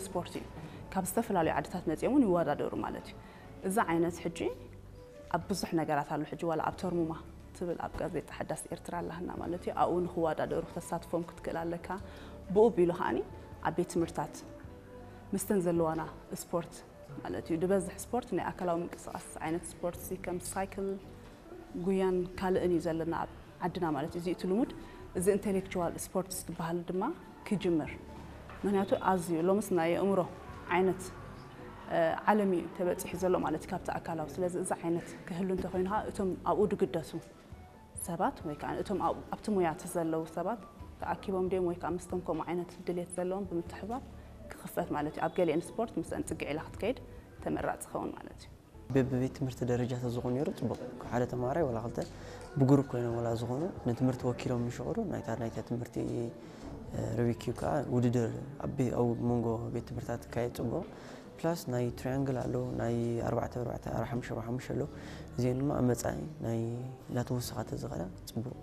ስፖርት እዩ። ካብ ዝተፈላለዩ ዓድታት መፂኦም እውን ይወዳደሩ ማለት እዩ። እዚ ዓይነት ሕጂ ኣብ ብዙሕ ነገራት ኣሎ። ሕጂ ዋላ ኣብ ተርሙማ ትብል ኣብ ጋዜጣ ሓዳስ ኤርትራ ኣላህና ማለት እዩ። ኣብኡ ንክወዳደሩ ክተሳትፎም ክትክእል ኣለካ። ብኡ ቢሉ ከዓኒ ኣብ ቤት ትምህርታት ምስተን ዘለዋና ስፖርት ማለት እዩ። ዝበዝሕ ስፖርት ናይ ኣካላዊ ምንቅስቃስ ዓይነት ስፖርት እዚ ከም ሳይክል፣ ጉያን ካልእን እዩ ዘለና ኣብ ዓድና ማለት እዩ። እዚ እቲ ልሙድ እዚ ኢንቴሌክቹዋል ስፖርትስ ዝበሃል ድማ ክጅምር። ምክንያቱ ኣዝዩ ሎምስ ናይ ኣእምሮ ዓይነት ዓለም እዩ ተበፂሑ ዘሎ ማለት እዩ ካብቲ ኣካላዊ። ስለዚ እዚ ዓይነት ክህሉ እንተኮይኑ ከዓ እቶም ኣብኡ ድግደሱ ሰባት ወይ ከዓ እቶም ኣብቲ ሙያ ዘለዉ ሰባት ተኣኪቦም ድዮም ወይ ከዓ ምስቶም ከምኡ ዓይነት ድሌት ዘለዎም ብምትሕባር ክኽፈት ማለት እዩ። ኣብ ገሊአን ስፖርት ምስአን ፅግዕ ኢላ ክትከይድ ተመራፂ ክኸውን ማለት እዩ። በብቤት ትምህርቲ ደረጃ ተዝኾኑ ነይሩ ፅቡቕ። ሓደ ተማሃራይ ወላ ክልተ ብግሩፕ ኮይኖም ወላ ዝኾኑ ንትምህርቲ ወኪሎም ምሽቕሩ ናይታ ናይታ ትምህርቲ ርብኪ ከዓ ውድድር ኣብ መንጎ ቤት ትምህርታት ካየ ፅቡቕ። ፕላስ ናይ ትሪያንግል ኣሎ፣ ናይ ኣርባዕተ ኣርባዕተ ሓሙሽተ ሓሙሽተ ኣሎ። እዚአን ድማ ኣብ መፃኢ ናይ እናተወሰኻ ተዝኸዳ ፅቡቕ።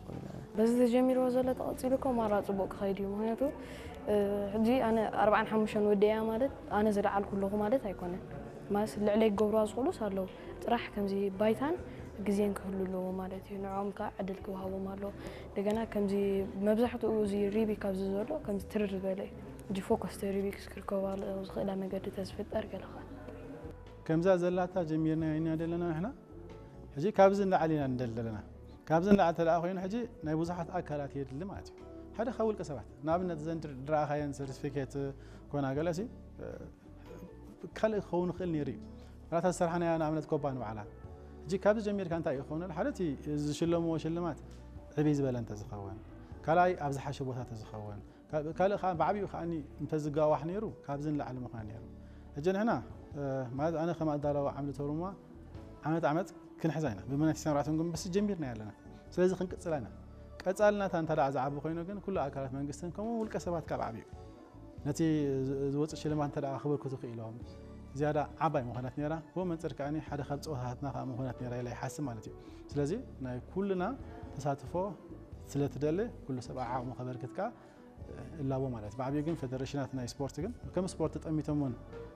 በዚ ተጀሚርዎ ዘሎ ተቐፂሉ እኮ ማራ ፅቡቕ ክኸይድ እዩ። ምክንያቱ ሕጂ ኣነ ኣርባዓን ሓሙሽተን ወዲያ ማለት ኣነ ዝለዓልኩ ኣለኹ ማለት ኣይኮነን። ማለት ልዕለይ ክገብርዋ ዝኽእሉስ ኣለዉ። ጥራሕ ከምዚ ባይታን ግዜን ክህሉ ኣለዎ ማለት እዩ። ንዕኦም ከዓ ዕድል ክወሃቦም ኣለዎ። እንደገና ከምዚ መብዛሕትኡ እዚ ሪቢክ ኣብዚ ዘሎ ከምዚ ትርር ዝበለ እዩ። ሕጂ ፎከስ ሪቢክስ ክርከባ ዝኽእላ መገዲ ተዝፍጠር ገለኻ። ከምዛ ዘላታ ጀሚርና ኢና ዘለና ንሕና ሕጂ ካብዚ ንላዕሊ ኢና ንደሊ ዘለና። ካብዚ ንላዕሊ ተደኣ ኮይኑ ሕጂ ናይ ብዙሓት ኣካላት የድሊ ማለት እዩ። ሓደ ካብ ውልቀ ሰባት ንኣብነት ዘን ድረኣኻየን ሰርቲፊኬት ኮና ገለሲ ካልእ ክኸውን ይኽእል ነይሩ እዩ። ራታ ዝሰርሓናያ ንኣብነት ኮባ ንባዕላ ሕጂ ካብዚ ጀሚርካ እንታይ እዩ ክኸውን ሓደ እቲ ዝሽለምዎ ሽልማት ዕብይ ዝበለ እንተዝኸውን ካልኣይ ኣብ ዝሓሸ ቦታ ተዝኸውን ካልእ ከዓ ብዓብኡ ከዓ እንተዝጋዋሕ ነይሩ ካብዚ ንላዕሊ ምዃን ነይሩ። ሕጂ ንሕና ማለት ኣነ ከም ኣዳለዊ ዓምዲ ተርሙማ ዓመት ዓመት ክንሕዛ ኢና ብመናት ሰምራትን ግን ብስ ጀሚርና ኣለና። ስለዚ ክንቅፅላ ኢና። ቀፃልናታ እንተ ደኣ ዝዓቢ ኮይኑ ግን ኩሉ ኣካላት መንግስትን ከምኡ ውልቀ ሰባት ካብ ዓብኡ ነቲ ዝወፅእ ሽልማት እንተ ደኣ ክብርክቱ ክኢሎም ዝያዳ ዓባይ ምኾነት ነይራ። ብኡ መንፅር ከዓ ሓደ ካብ ፀወታታትና ከዓ ምኾነት ነይራ ኢለ ይሓስብ ማለት እዩ። ስለዚ ናይ ኩልና ተሳትፎ ስለትደሊ ኩሉ ሰብ ዓቕሙ ከበርክት ከዓ እላቦ ማለት ብዓብዩ ግን ፌደሬሽናት ናይ ስፖርት ግን ከም ስፖርት ጠሚቶም እውን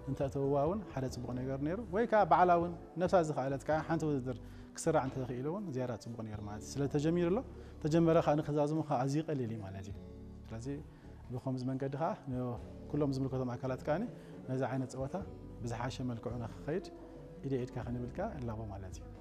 እንተእተውዋ እውን ሓደ ፅቡቕ ነገር ነይሩ ወይ ከዓ ባዕላ እውን ነብሳ ዝኸኣለት ከዓ ሓንቲ ውድድር ክስራዕ እንተኽኢሉ እውን ዝያዳ ፅቡቕ ነይሩ ማለት እዩ። ስለተጀሚሩ ኣሎ ተጀመረ ከዓ ንክዛዝሙ ከዓ ኣዝዩ ቀሊል እዩ ማለት እዩ። ስለዚ ብከምዚ መንገዲ ከዓ ኩሎም ዝምልከቶም ኣካላት ከዓ ነዚ ዓይነት ፀወታ ብዝሓሸ መልክዑ ንክኸይድ ኢደ ኢድካ ክንብል ከዓ እላቦ ማለት እዩ።